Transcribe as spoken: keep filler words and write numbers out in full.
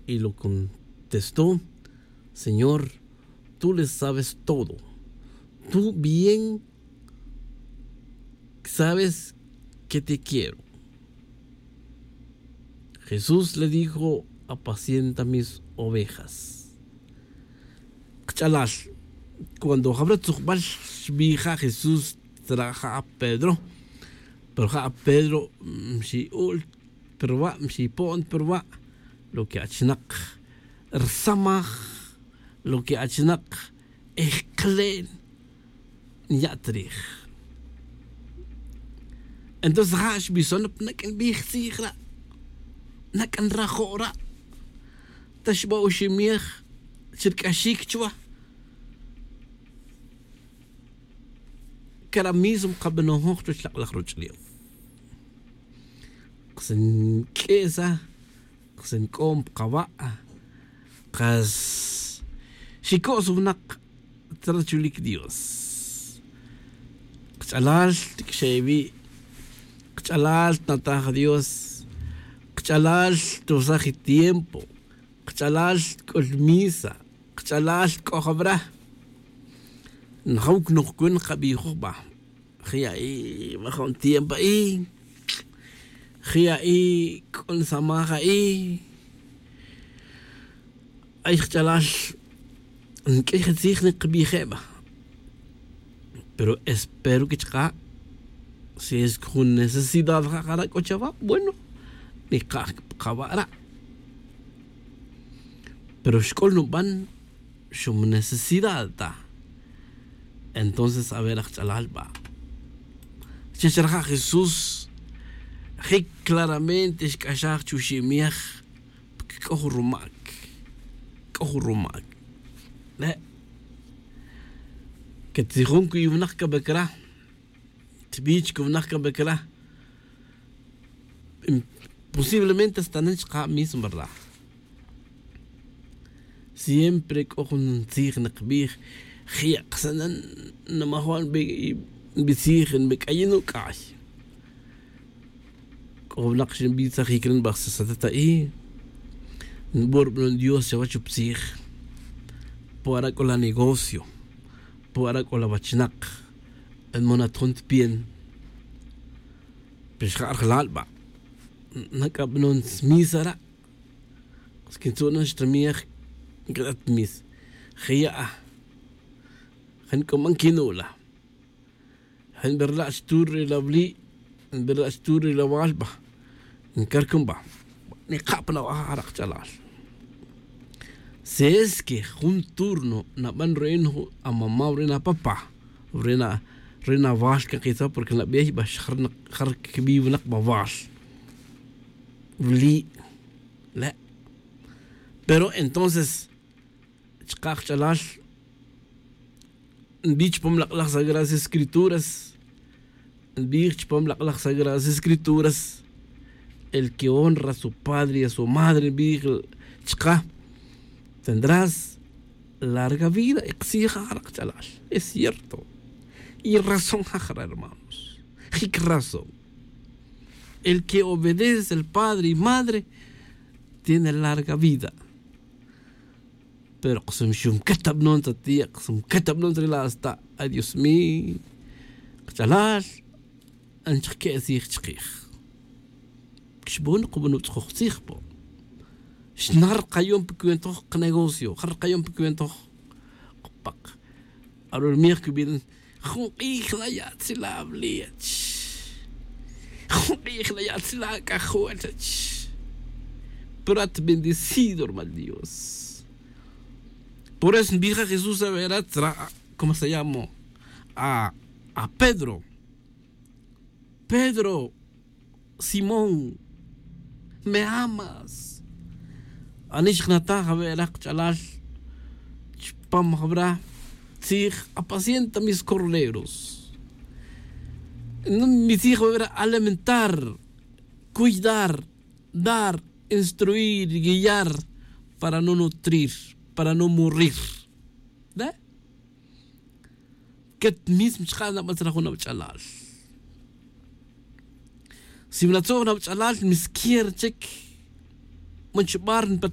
Y lo contestó: "Señor, tú le sabes todo. Tú bien sabes que te quiero". Jesús le dijo: "Apacienta mis ovejas". Kach'alal, cuando jabra tzujbal xbija' Jesús, tzra ja' Pedro, pero ja' Pedro, mm, xi'ul pa ruwa', xipo'n pa ruwa'. Lo que achinak rsamaj, lo que achinak ejk'len, nya'trij. Entonces ja' xbison pa nak'an bij tzij ra', nak'an rajo' ra'. Ta xba oximej chi rc'axic chuwa. Cara mismo kabanojoj chuwech lak'laj roch'ulew. Kas nq'uesa, kas nc'om pa kawa', kas xico's winak ta rachulic Dios. Kach'alal, tiq'uixe' iwi'. Kach'alal, tnataj Dios. Kach'alal, tosaj i tiempo. Kach'alal, c'ul misa. Kach'alal, c'o jabra. Najaw cnojcun kabijoj ba. Jiya'i ba jun tiempo a'i. Jiya'i c'o nsamaj a'i. Ay kach'alal, nq'uiy je tzij nikabije' ba. Pero espero que chka', si es que jun necesidad ja' jara' c'o chawa, bueno, nikaj pa kawa' ra'. Pero xc'ul nuban, xum necesidad ta. Entonces a ver, aj kach'alal ba, chi chraja' Jesús, jic claramente xc'axaj chuximej, porque c'o jun rumac, c'o jun rumac. Le' que tzijon cuy winak cabe cra, tbich cuy winak cabe cra. Posiblemente hasta nen chka' mismo, ¿verdad? Siempre c'o jun tzij nikbij, jiya' ksanen, namajon nbi tzij, nbic'ayin nuc'ay. C'o winak xinbitzajic re nbaj sasatata'i, nbor banon Dios chawech u tzij. Pu ara c'o la negocio, pu ara c'o la wachinak, nmonat jun tpien. Pero xja' rajlal ba, nac'abanon smisa ra'. Squintzu'nan xtamij, nquedat misa. Jiya', ja nc'uman quinula'. Ja nberla' xtur re la wili', nberla' xtur re la wal ba. Ncarcun ba, nikapan awaj arak ch'alal. Si es que jun turno naban ruin amamá ruin apapá, ruin awal can kitza porque nabey ba xjar quibi winak ba wal wili'. Le'. Pero entonces chka' kach'alal, nbij chupam lak'laj sagradas escrituras, nbij chupam lak'laj sagradas escrituras, el que honra a su padre y a su madre, nbij chka', tendrás larga vida. Y ktzij ja' kach'alal, es cierto. Y razón ja' jara', hermanos. Jic razón. El que obedece al padre y madre tiene larga vida. Pero kxum xumquet abanon ta ti', kxum quet abanon ta ri la' sta. Ay Dios mío, kach'alal, anchaj que' tzij chkij. Xbon kuban utz'joj tzij po. Xnar kayon pa cuentoj kanegocio, jar kayon pa cuentoj. Kupak arurmij que bien. Jun k'ij la ya'tzila' wili' ach. Jun k'ij la ya'tzila' k'ajol ach. Pero at bendecido hermano dios. Por eso nbija' jesús a ver atra, como se llamo, a pedro. Pedro, simón, me amas? Anix jnataj awe' raj kach'alal chupam jawra' tzij, apacienta mis corderos. Mi tzij awe' raj alimentar, cuidar, dar, instruir, guiar, para no nutrir, para no morir. Ket mismo chka' nabatzra jun awach'alal. Si wanatzoj nawach'alal miskier chic, man chubar npa.